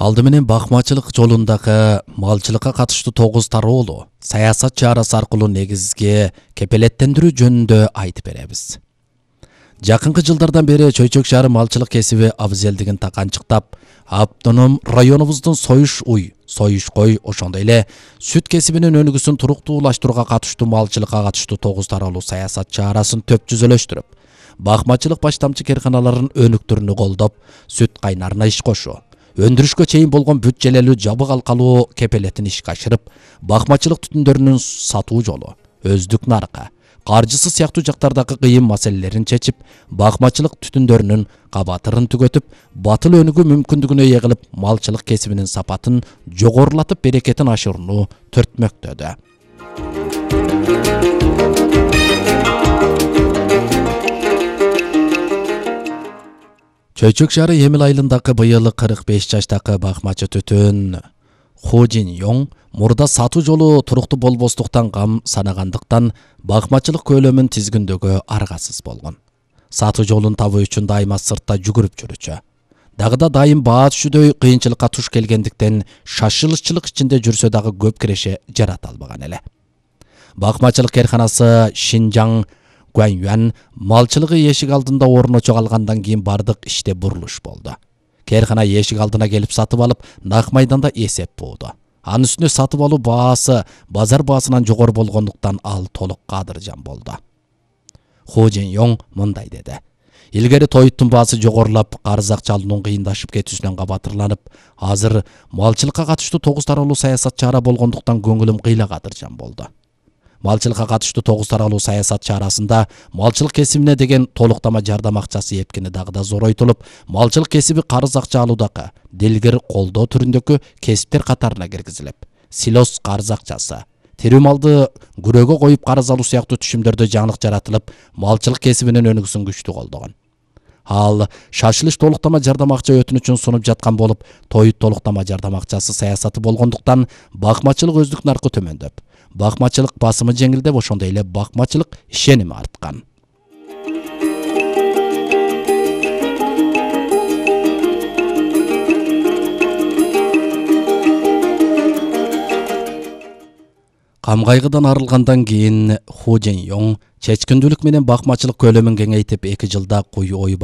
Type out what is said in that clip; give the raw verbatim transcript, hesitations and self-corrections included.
Алды менен бакмачылык жолундагы малчылыкка катыштуу тогуз тароолу саясат чарасы аркылуу негизги кепелеттендирүү жөнүндө айтып беребиз. Жакынкы жылдардан бери Чөйчөк шаары малчылык кесиби абзелдигин таканчыктап, автоном районубуздун союш уй, союш кой, ошондой эле сүт кесибинин өнүгүүсүн туруктуулаштырууга катыштуу малчылыкка катыштуу тогуз тароолуу саясат чарасын төп жүзөлөштүрүп, бакмачылык баштамчы керканаларын өнүктүрүүнү колдоп, сүт кайнарына иш кошуу, өндүрүшкө чейин болгон бүт желелүү жабык алкалуу кепелетин ишке ашырып, бакмачылык түтүндөрүнүн сатуу жолу, өздүк наркы, каржысы сыяктуу жактардагы кыйын маселелерин чечип, бакмачылык түтүндөрүнүн кабатырын түгөтүп, батыл өнүгүү мүмкүндүгүнө ээ кылып, малчылык кесибинин сапатын жогорулатып, берекетин ашырууну төртмөктөдү. Чөйчөк шаары Эмил айылындагы быйыл кырк беш жаштагы бакмачы түтүн Ху Жин Йоң мурда сатуу жолу туруктуу болбостуктан кам санагандыктан бакмачылык көлөмүн тизгиндөөгө аргасыз болгон. Сатуу жолун табуу үчүн дайыма сыртта жүгүрүп жүрүчү. Дагы да дайым баа түшүдөй кыйынчылыкка туш келгендиктен шашылышчылык ичинде жүрсө дагы көп киреше жарата албаган эле. Бакмачылык керканасы Шинжаң Гуаньюан малчылыгы эшик алдында орночо калгандан кийин бардык иште бурулуш болду. Керкана эшик алдына келип сатып алып, нак майданда эсеп бууду. Анын үстүнө сатып алуу баасы базар баасынан жогору болгондуктан ал толук кадыржан болду. Ху Жин Йоң мындай деди: Илгери тоюттун баасы жогорулап, карыз акча алуунун кыйындашып кетүүсүнөн кабатырланып, азыр малчылыкка катыштуу тогуз тароолуу саясат чара болгондуктан көңүлүм кыйла кадыржан болду. Малчылыкка катыштуу тогуз тароолуу саясат чарасында малчылык кесибине деген толуктама жардам акчасы эпкини дагы да зоройтулуп, малчылык кесиби карыз акча алуудагы дилгир колдоо түрүндөгү кесиптер катарына киргизилип, силос карыз акчасы, тирүү малды күрөөгө коюп карыз алуу сыяктуу түшүмдөрдө жаңылык жаратылып, малчылык кесибинин өнүгүүсүн күчтүү колдогон. Ал шашылыш толуктама жардам акча өтүнүчүн сунуп жаткан болуп, тоют толуктама жардам акчасы саясаты болгондуктан бакмачылык өздүк наркы төмөндөп, бакмачылык басымы жеңилдеп, ошондой эле бакмачылык ишеними арткан. Кам кайгыдан арылгандан кийин Ху Жин Йоң чечкиндүүлүк менен бакмачылык көлөмүн кеңейтип, эки жылда куй ой